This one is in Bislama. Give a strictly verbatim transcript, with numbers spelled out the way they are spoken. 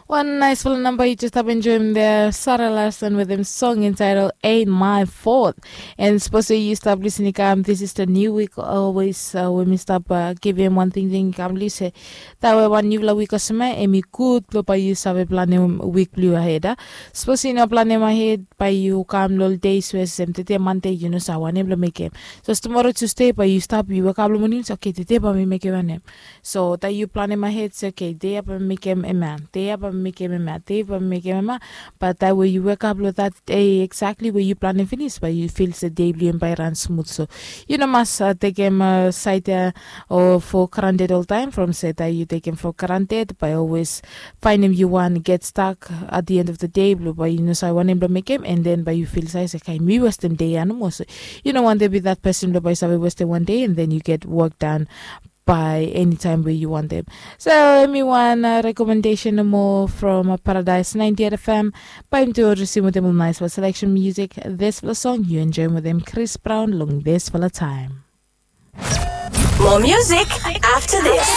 Wan naisfala namba yu jes stap enjoim de, Sara Larson wetem song entitled Ain't My Fault. And sapos yu stap lisin i kam, this is the new week always, uh, we mi stap uh, givim wan tingting i kam liu se tawe wan niufala wik olsem ya, em i gud blong bae yu save planem wik blong yu ahed a. Sapos yu no planem ahed, bae yu kam long days we olsem tede Mande yu no save wanem blong mekem. So tumora Tusde bae yu stap, yu wekap long moning se, oke, tede bae mi mekem wanem. So taem yu planem ahed se, oke, dei ya bae mi mekem hemia, dei ya bae mi mekem hemia, dei bae mi mekem hemia. Bat taem we yu wekap long that dei exactly we yu planem finis, bae yu fil se dei blong yu bae i ran smut. So yu no mas uh, tekem uh, saed ya o for granted oltaem, from se taem yu tekem for granted bae yu always faenem yu wan get stuck at the end of the day, blong bae yu no save wanem blong mekem, and then bae yu fil se, oke, mi westem dei ya nomo. So yu no wantem be that person blong bae yu save westem wan dei and then yu get work done by anytime we yu wantem. So hemi wan uh, recommendation nomo from uh, Paradise ninety-eight F M. Bae mi tu risim wetem ol naisfala selection music, disfala song yu enjoim wetem Chris Brown long disfala taem. More music after this.